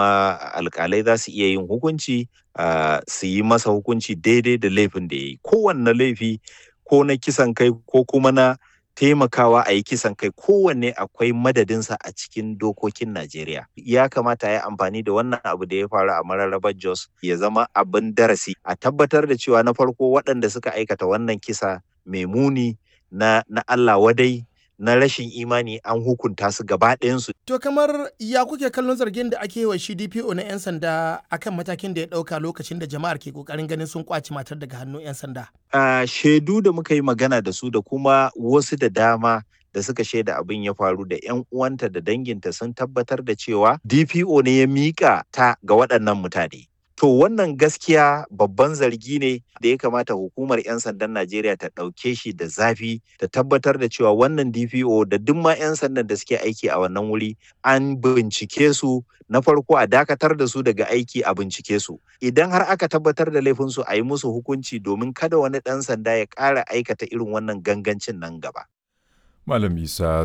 Kuma alkalai za su iya yin hukunci, su yi masa hukunci daidai da laifin da ya yi. Kowanne laifi, ko na kisan kai ko kuma na taimakawa a yi kisan kai, kowanne akwai madadinsa a cikin dokokin Najeriya. Ya kamata ya amfani da wannan abu da ya faru a Mararrabar Jos ya zama abin darasi, a tabbatar da cewa na farko waɗanda suka aikata wannan kisa mai muni na Allah wadai na rashin imani an hukunta su gaba ɗayansu. To kamar ya kuke kallon zargin da ake yi wa shi DPO na 'yan sanda akan matakin da ya ɗauka lokacin da jama'ar ke ƙoƙarin ganin sun ƙwace matar daga hannun 'yan sanda? Shaidu da muka yi magana da su da kuma wasu da dama da suka shaida abin ya faru da 'yan uwanta da danginta sun tabbatar da cewa DPO ne ya miƙa ta ga waɗannan mutane. To wannan gaskiya babban zargi ne da ya kamata hukumar 'yan sandan Najeriya ta ɗauke shi da zafi, ta tabbatar da cewa wannan DPO da duk ma 'yan sandan da suke aiki a wannan wuri an bincike su. Na farko a dakatar da su daga aiki, a bincike su. Idan har aka tabbatar da laifinsu, a yi musu hukunci domin kada wani ɗan sanda ya ƙara aikata irin wannan gangancin nan gaba. Malam Isa.